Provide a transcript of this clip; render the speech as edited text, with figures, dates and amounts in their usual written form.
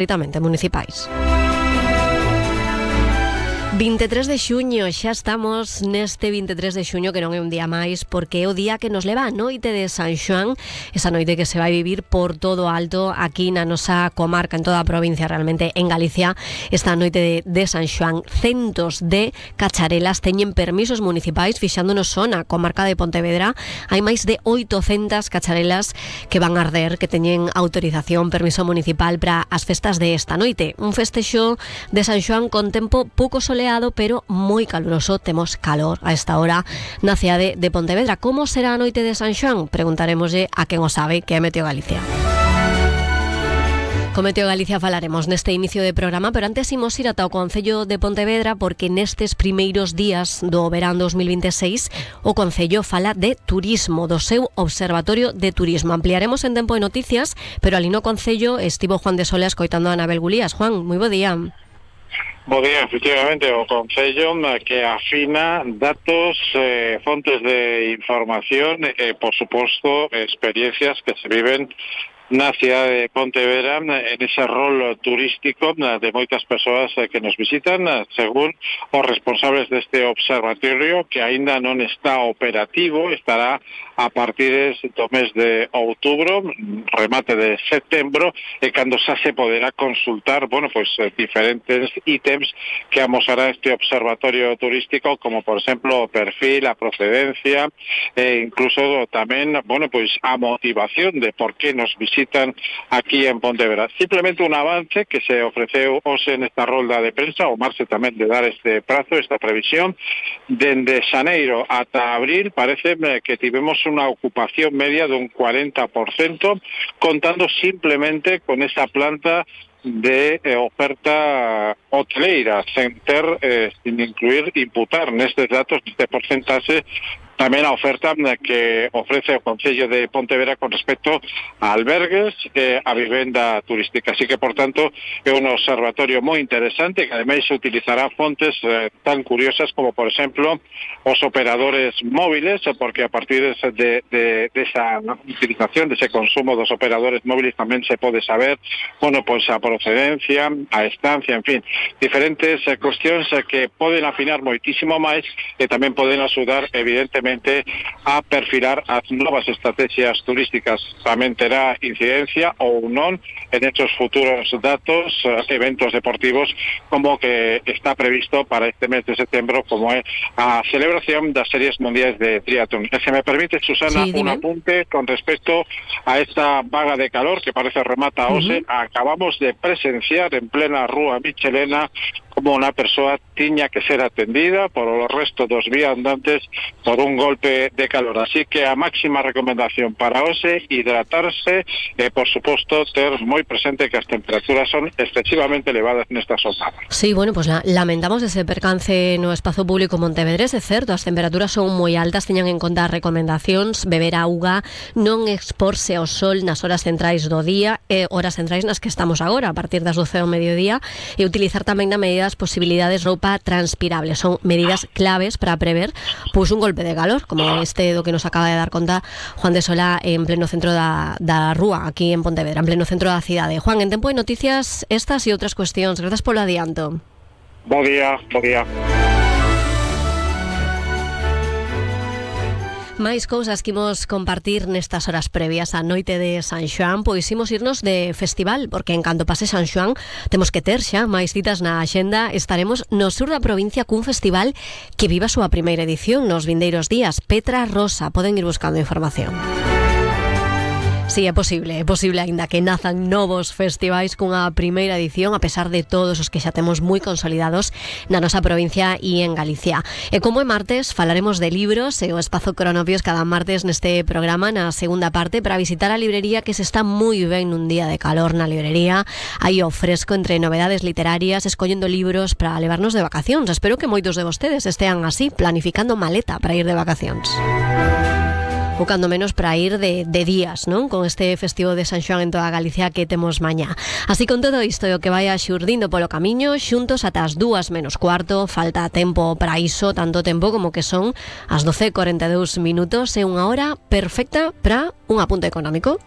estritamente municipais. 23 de xuño, xa estamos neste 23 de xuño, que non é un día máis, porque é o día que nos leva a noite de San Xoán, esa noite que se vai vivir por todo alto aquí na nosa comarca, en toda a provincia, realmente en Galicia. Esta noite de San Xoán, centos de cacharelas teñen permisos municipais, fixándonos só na comarca de Pontevedra. Hai máis de 800 cacharelas que van arder, que teñen autorización, permiso municipal para as festas de esta noite. Un festexo de San Xoán con tempo pouco soleado, pero moi caluroso. Temos calor a esta hora na cidade de Pontevedra. Como será a noite de San Xoán? Preguntaremoslle a quen o sabe, que é Meteo Galicia. Con Meteo Galicia falaremos neste inicio de programa, pero antes imos ir ata o Concello de Pontevedra, porque nestes primeiros días do verán 2026 o Concello fala de turismo, do seu Observatorio de Turismo. Ampliaremos en tempo de noticias, pero ali no Concello estivo Juan de Sola escoitando a Anabel Gulías. Juan, moi bo día. Bo día, efectivamente, o Concello que afina datos, fontes de información, por suposto, experiencias que se viven na cidade de Pontevedra, en ese rol turístico de moitas persoas que nos visitan, según os responsables deste observatorio, que aínda non está operativo, estará a partir do mes de outubro, remate de setembro, e cando xa se poderá consultar, diferentes ítems que amosará este observatorio turístico, como por exemplo o perfil, a procedencia, e incluso tamén, a motivación de por que nos visitan aquí en Pontevedra. Simplemente un avance que se ofreceu hoxe nesta rolda de prensa, o marxe tamén de dar este prazo, esta previsión. Dende xaneiro ata abril parece que tivemos unha ocupación media dun 40%, contando simplemente con esa planta de oferta hoteleira, sin imputar nestes datos, neste porcentaxe, tamén a oferta que ofrece o Concello de Pontevedra con respecto a albergues e a vivenda turística. Así que, por tanto, é un observatorio moi interesante que ademais utilizará fontes tan curiosas como, por exemplo, os operadores móviles, porque a partir de esa utilización, dese consumo dos operadores móviles, tamén se pode saber, a procedencia, a estancia, en fin, diferentes cuestións que poden afinar moitísimo máis e tamén poden axudar, evidentemente, a perfilar as novas estrategias turísticas. Tamén terá incidencia ou non en estos futuros datos, eventos deportivos, como que está previsto para este mes de setembro, como é a celebración das series mundiais de triatlón. Se me permite, Susana, un apunte con respecto a esta vaga de calor que parece remata hoxe. Acabamos de presenciar en plena Rúa Michelena como unha persoa tiña que ser atendida por o resto dos viandantes por un golpe de calor. Así que a máxima recomendación para hoxe, hidratarse e, por suposto, ter moi presente que as temperaturas son excesivamente elevadas nesta xornada. Sí, lamentamos ese percance no espazo público montevedrés, é certo, as temperaturas son moi altas, teñan en conta as recomendacións, beber auga, non exporse ao sol nas horas centrais do día, horas centrais nas que estamos agora, a partir das 12 do mediodía, e utilizar tamén na medida das posibilidades roupa transpirable. Son medidas claves para prever un golpe de calor, como este do que nos acaba de dar conta Juan de Sola en pleno centro da Rúa, aquí en Pontevedra, en pleno centro da cidade. Juan, en tempo de noticias estas e outras cuestións. Grazas polo adianto. Bo día. Máis cousas que imos compartir nestas horas previas á noite de San Xoán, pois imos irnos de festival, porque en canto pase San Xoán temos que ter xa máis citas na axenda. Estaremos no sur da provincia cun festival que viva a súa primeira edición nos vindeiros días. Petra Rosa, poden ir buscando información. Sí, é posible aínda que nazan novos festivais cunha primeira edición, a pesar de todos os que xa temos moi consolidados na nosa provincia e en Galicia. E como é martes, falaremos de libros e o espazo Cronopios cada martes neste programa, na segunda parte, para visitar a librería, que se está moi ben nun día de calor na librería. Aí o fresco entre novedades literarias, escollendo libros para levarnos de vacacións. Espero que moitos de vostedes estean así, planificando maleta para ir de vacacións. ou cando menos para ir de días, non? Con este festivo de San Xoán en toda Galicia que temos mañá. Así con todo isto e o que vai xurdindo polo camiño, xuntos ata as 2:15, falta tempo para iso, tanto tempo como que son as 12:42 minutos e unha hora perfecta para un apunte económico.